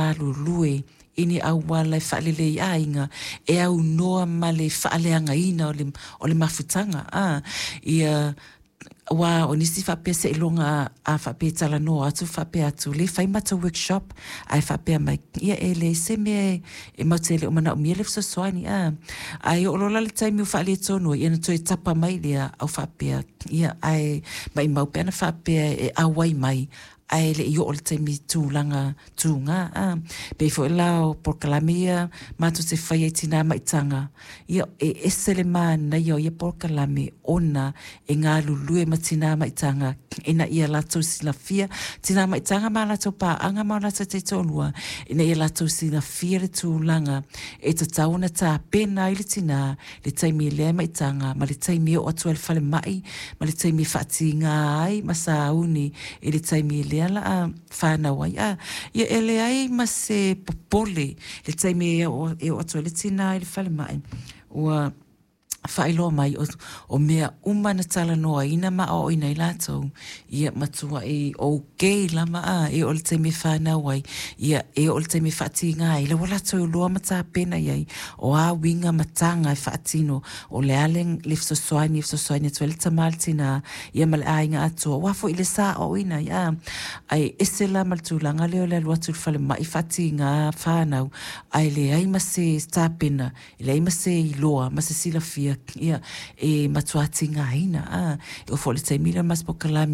galulue i ni auala e faalelei aiga e aunoa ma le faaleagaina o le mafutaga a ia. Aua o nisi faapea seiloga a faapea e talanoa atu faapea atu lea e fai matou workshop ae faapea mai, ia e leai se mea e matou te le o manaomia le fesoasoani a. Ae oo loa la i le taimi ua faaletonu ai, ia ona toe tapa mai lea au faapea, ia ae maumau pe ana faapea e auai mai ae le i oo i le taimi i tulaga tuga a. Pei foi la o polokalame ia matou te faia i tina ma itaga, ia e ese le manaia o ia polokalame ona e galulue ma tina ma itaga ina ia latou silafia, tina ma itaga ma latou paaga ma o latou taitoalua, ina ia latou silafia le tulaga e tatau ona tapena ai le tina le taimi lea e maitaga ma le taimi e oo atu ai i le falemai ma le taimi e faatiga ai ma sauni i le taimi lea la a fanau ai. A ia e leai ma se popole le taimi e oo atu ai le tina i le falemai ua faailoa mai o mea uma na talanoaina ma aoaoina ai latou, ia matuai okay lava a e oo i le taimi e fanau ai, ia e oo i le taimi e faatiga ai, la ua latou iloa ma tapena i ai o a uiga ma taga e faatino, o le a le fesoasoani e fesoasoani atu ai le tama i le tina, ia ma le aiga atoa, aua foi le sa aoaoina ai, a. Ae ese la ma le tulaga lea o le alu atu i le falemai faatiga fanau, ae leai ma se tapena, leai ma se iloa ma se silafia, ia, e matua tigaina, a. E oo foi i le taimi lea o le matou polokalame.